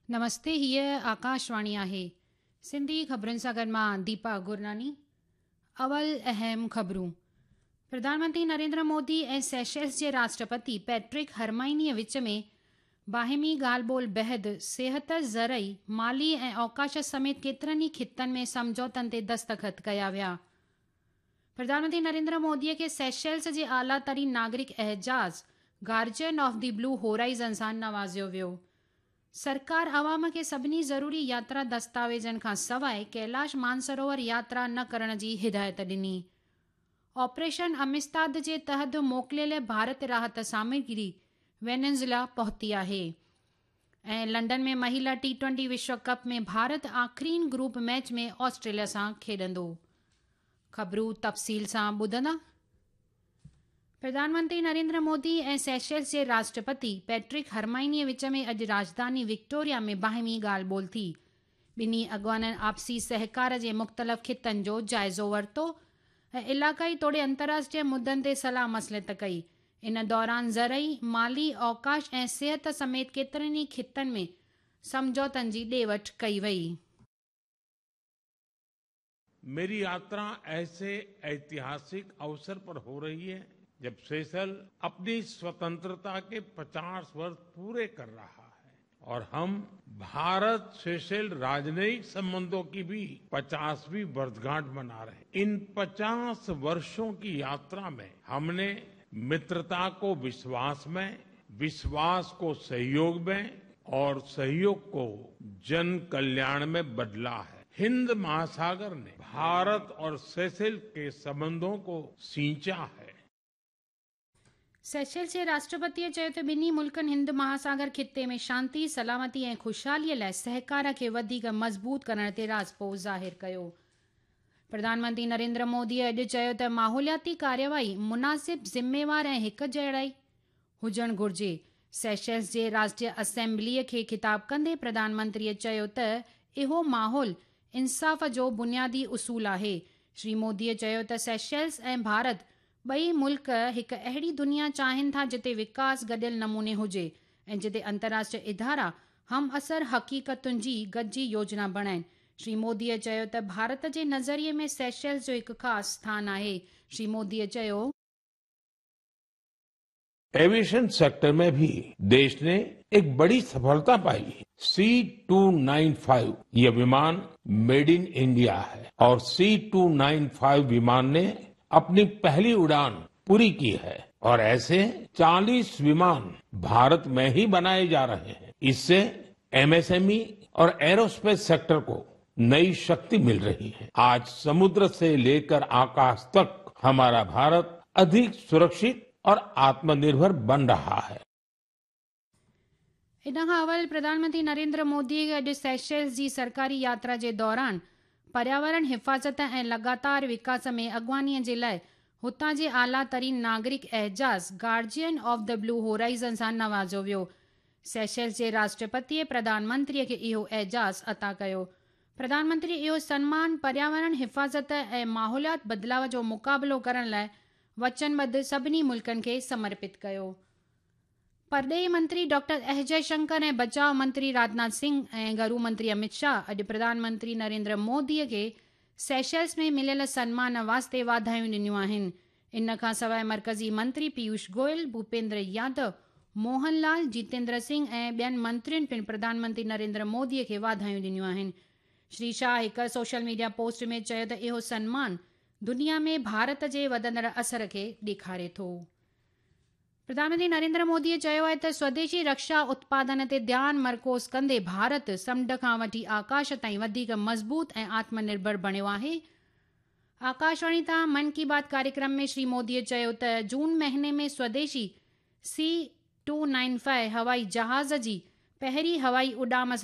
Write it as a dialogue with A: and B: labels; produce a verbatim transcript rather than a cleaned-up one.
A: نمستي، هيءَ آڪاشواڻي آهي. سنڌي خبرن سان گڏ مان ديپا گرناني. اول اهم خبرون. پرڌان منتري نريندر مودي ۽ سيشلز جي راشٽرپتي پيٽرڪ هرمائنيءَ وچ ۾ باهمي ڳالهه ٻولهه بعد صحت، زرعي، مالي ۽ اوڪاش سميت ڪيترن ئي خطن ۾ سمجهوتن تي دستخط ڪيا ويا. پرڌان منتري نريندر موديءَ کي سيشلز جي اعليٰ ترين ناگرڪ اعزاز Guardian of the Blue Horizon سان نوازيو ويو. سرڪار عوام کي سڀني ضروري ياترا دستاويزن کان سواءِ ڪيلاش مانسروور ياترا نه ڪرڻ جي هدايت ڏني. آپريشن امستاد جي تحت موڪليل ڀارت راحت سامگري وينيزويلا پهتي آهي. ۽ لنڊن ۾ مهلا ٽي ٽوئنٽي وشو ڪپ ۾ ڀارت آخرين گروپ ميچ ۾ آسٽريليا سان کيڏندو. خبرون تفصيل سان ٻڌندا. پرڌان منتري نريندر مودي ۽ سيشلز جي راشٽرپتي پيٽرڪ هرمائنيءَ وچ ۾ اڄ راڄڌاني وڪٽوريا ۾ باهمي ڳالهه ٻولهه ٿي. ٻنهي اڳواڻن آپسي سهڪار جي مختلف خطن جو جائزو ورتو ۽ علائقائي توڙي انترراشٽريه مدعن تي صلاح مصلحت ڪئي. ان دوران زرعي، مالي، اوڪاش ۽ صحت سميت ڪيترن ئي خطن ۾ سمجهوتن جي ڏي وٺ ڪئي وئي.
B: मेरी यात्रा ऐसे ऐतिहासिक अवसर पर हो रही है जब सेशल अपनी स्वतंत्रता के पचास वर्ष पूरे कर रहा है और हम भारत सेशल राजनयिक संबंधों की भी पचासवीं वर्षगांठ मना रहे हैं। इन पचास वर्षों की यात्रा में हमने मित्रता को विश्वास में, विश्वास को सहयोग में और सहयोग को जन कल्याण में बदला है। हिंद महासागर ने भारत और सेशल के संबंधों को सिंचा है।
A: सेशल्स जे राष्ट्रपतीअ चयो त ॿिन्ही मुल्कनि हिंद महासागर खिते में शांति, सलामती ऐं ख़ुशहालीअ लाइ सहकार खे वधीक मज़बूत करण ते राज़पो ज़ाहिर कयो। प्रधानमंत्री नरेंद्र मोदीअ अॼु चयो त माहौलियाती कार्यवाही मुनासिब, ज़िम्मेवार ऐं हिक जहिड़ाई हुजणु घुरिजे। सेशल्स जे राष्ट्रीय असेंबलीअ खे ख़िताब कंदे प्रधानमंत्रीअ चयो त इहो माहौल इंसाफ़ जो बुनियादी उसूल आहे। श्री मोदीअ चयो त सेशल्स ऐं भारत ॿई मुल्क हिकु अहिड़ी दुनिया चाहिनि था जिते विकास गॾियल नमूने हुजे ऐं जिते अंतर्राष्ट्रीय इदारा हम असर हक़ीक़तुनि जी गॾिजी योजना बणाइनि। श्री मोदीअ चयो त भारत जे नज़रिए में सेशल्स जो हिकु ख़ासि स्थान आहे। श्री मोदीअ चयो,
B: एविएशन सेक्टर में भी देश ने एक बड़ी सफलता पाई है। सी टू नाइन फाइव ये विमान मेड इन इंडिया है और सी टू नाइन फाइव विमान ने अपनी पहली उड़ान पूरी की है और ऐसे चालीस विमान भारत में ही बनाए जा रहे हैं। इससे एमएसएमई और एरोस्पेस सेक्टर को नई शक्ति मिल रही है। आज समुद्र से लेकर आकाश तक हमारा भारत अधिक सुरक्षित और आत्मनिर्भर बन रहा है।
A: इन खां अवल प्रधानमंत्री नरेंद्र मोदी अॼु सेशल्स जी सरकारी यात्रा जे दौरान पर्यावरण हिफ़ाज़त ऐं लगातार विकास में अॻुवानीअ जे लाइ हुतां जे आला तरीन नागरिक एजाज़ Guardian of the Blue Horizon सां नवाज़ियो वियो। सेशल्स जे राष्ट्रपतीअ प्रधानमंत्रीअ खे इहो एजाज़ अता कयो। प्रधानमंत्री इहो सन्मान पर्यावरण हिफ़ाज़त ऐं माहौलियात बदिलाव जो मुक़ाबिलो करण लाइ वचनबद्ध सभिनी मुल्कनि खे समर्पित कयो। परॾेही मंत्री डॉक्टर एस जयशंकर ऐं बचाव मंत्री राजनाथ सिंह ऐं घरू मंत्री अमित शाह अॼु प्रधानमंत्री नरेंद्र मोदीअ खे सेशल्स में मिलियल सन्मान वास्ते वाधायूं ॾिनियूं आहिनि। इन खां सवाइ मर्कज़ी मंत्री पीयूष गोयल, भूपेंद्र यादव, मोहनलाल, जितेंद्र सिंह ऐं ॿियनि मंत्रियुनि पिणु प्रधानमंत्री नरेंद्र मोदीअ खे वाधायूं ॾिनियूं आहिनि। श्री शाह हिकु सोशल मीडिया पोस्ट में चयो त इहो सन्मान दुनिया में भारत जे वधंदड़ असर खे ॾेखारे थो। प्रधानमंत्री नरेंद्र मोदीअ चयो आहे त स्वदेशी रक्षा उत्पादन ते ध्यानु मरकूज़ कंदे भारत समुंड खां वठी आकाश ताईं वधीक मज़बूत ऐं आत्मनिर्भर बणियो आहे। आकाशवाणी तां मन की बात कार्यक्रम में श्री मोदीअ चयो त जून महीने में स्वदेशी सी टू नाइन फाइव हवाई जहाज़ जी पहिरीं हवाई उॾाम सां